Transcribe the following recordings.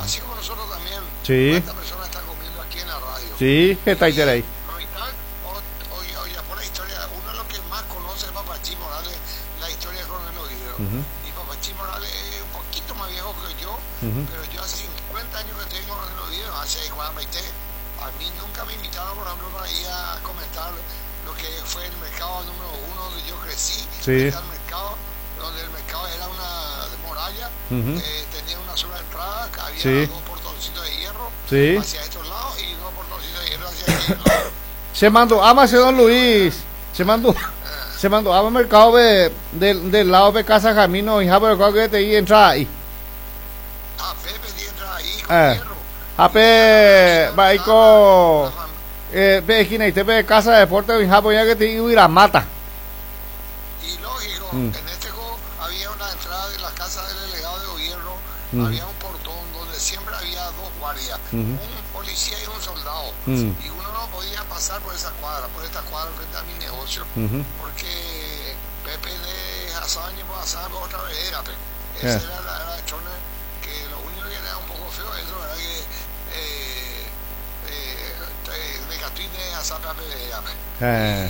Así como nosotros también. Sí. ¿Cuántas personas están comiendo aquí en la radio? Sí, hetaiterei. Mitad, ojapo la historia, uno de los que más conoce es Papachí Morales, la historia con el oído. Y Papachí Morales es un poquito más viejo que yo, pero yo hace 50 años que estoy con el oído, hace 43. A mí nunca me invitaron, por ejemplo, para ir a comentar lo que fue el mercado número 1 donde yo crecí. Sí. El mercado, donde el mercado era una muralla, tenía una sola entrada, había Sí. dos portoncitos de hierro Sí. hacia estos lados y dos portoncitos de hierro hacia aquel lado. Se mandó a Macedón Luis. Se mandó. Se mandó a mercado de, del lado de Casa Jamino y Japo que te y entra ahí. A Pepe y entra ahí con hierro. A Pe, va ahí con, pe esquina y te pe Casa de Deporte y Japo ya que te iba a ir a mata. Y lógico, en este juego había una entrada de la casa del delegado de gobierno, había un portón donde siempre había dos guardias, un policía y un soldado. Y uno no podía pasar por esa cuadra, por esta cuadra frente a mi negocio, porque Pepe de Hazaña pasaba por otra vereda, pe. Esa era la chona que lo único que era un poco feo, eso era que de Catuín de Hazaña a vereda, pe.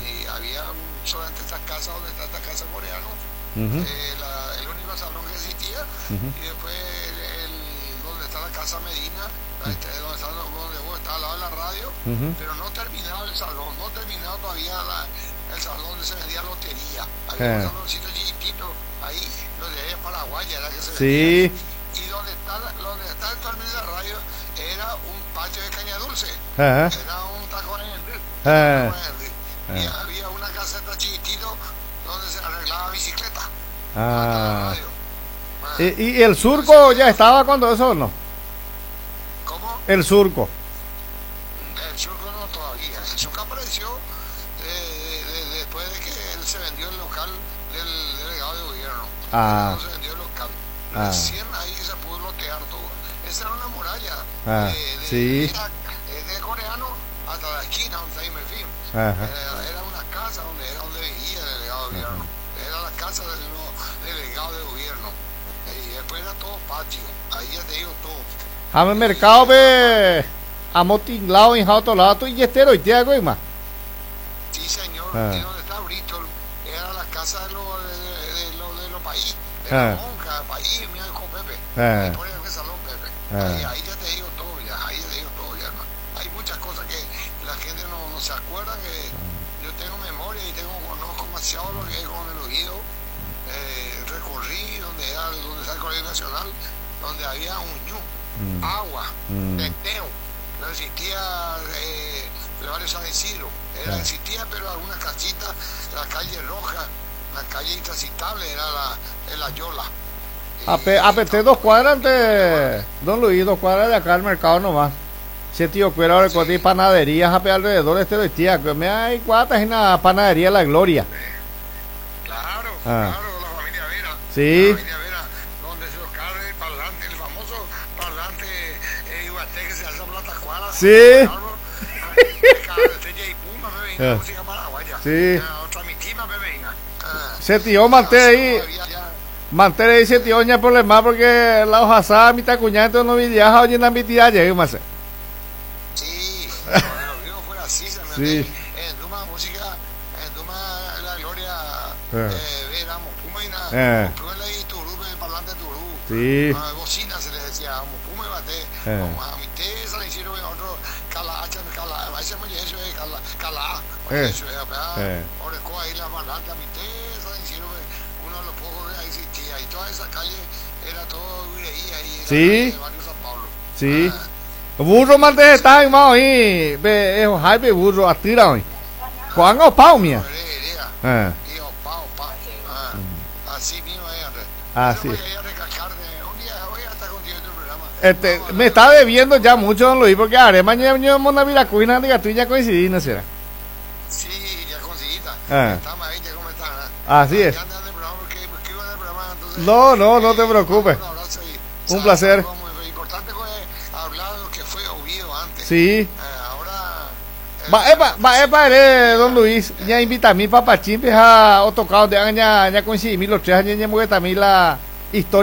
Y había solamente estas casas donde está esta casa coreana, el único salón que existía, y después el donde está la casa Medina, donde está, donde vos está al lado de la radio, pero no terminado el salón, no terminado todavía el salón donde se vendía lotería. Había un saloncito chiquitito ahí, donde había Paraguay, era que se vendía. Y donde está actualmente la radio era un patio de caña dulce. Era un tacón en el río. Y había una caseta chiquitito donde se arreglaba bicicleta. ¿Y el surco ya estaba cuando eso o no? ¿Cómo? El surco. El surco no todavía. El surco apareció después de que él se vendió el local del delegado de gobierno. Se vendió el local. Recién ahí se pudo lotear todo. Esa era una muralla. De coreano hasta la esquina donde está Imerfim. Era una casa donde era donde vivía el delegado de gobierno. Era la casa del delegado de gobierno. Y después era todo patio. Ahí ya te digo todo. Jame mercado pe amotinglado en otro lado y estero y te hago y más. Sí, señor. Y donde está Bristol era la casa de los de los países. De la monja, país, mira con Pepe. Por el salón Pepe. Ahí ya te digo todo ya, ahí ya te digo todo ya, hermano. Hay muchas cosas que la gente no se acuerda, que yo tengo memoria y conozco demasiado lo que es con el oído. Recorrí donde era, donde está el Colegio Nacional, donde había un ñu, agua, teteo, no existía el barrio San Isidro, existía pero algunas casitas, la calle Roja, la calle intransitable era la Yola. APT 2 cuadras antes, don Luis, 2 cuadras de acá al mercado nomás. Se tío cuero ahora con panaderías a alrededor este de tía, que me hay cuatro en la panadería La Gloria. Claro, claro, la familia Vera. Sí. La familia Vera, donde se tocaba el parlante, el famoso parlante Iguaté que se alza por la tacuara. Sí. Música paraguaya. Sí. Se tío manté ahí. Manté ahí se tío ña problema porque la hoja asada mi tacuña entonces no viaja oye na mi tía llega más. Sí, cuando lo vio fue así, se me Sí. En Duma música, en Duma la Gloria, era Mopuma y nada. Mopuma y Turú, el parlante Turú. Sí. Bocina se les decía, Mopuma y Bate. A mi té se le hicieron otro cala, cala, ahí se me eso es cala, cala. Eso es, orecó ahí la parlante, a mi té se le hicieron uno de los pocos que existía. Y toda esa calle era todo Uireía ahí. Sí. El barrio San Pablo. Sí. Burro mante está en mao ahí, ve es hype burro atira hoy. Juan o pau mía. Y o pau pau. Así mismo es. Así. Este, me está debiendo ya mucho don Luis porque haré mañana yo mona viracuina de gatuña ya coincidí, ¿no será? Sí, ya coincidí. Estamos ahí, ya cómo está. Así es. No, no, no te preocupes. Un placer. Sí. Ahora. Va, epa, don Luis, ya invita a mi papá chimpes a otro de ya, ya coincidí los 3 años, ya la historia.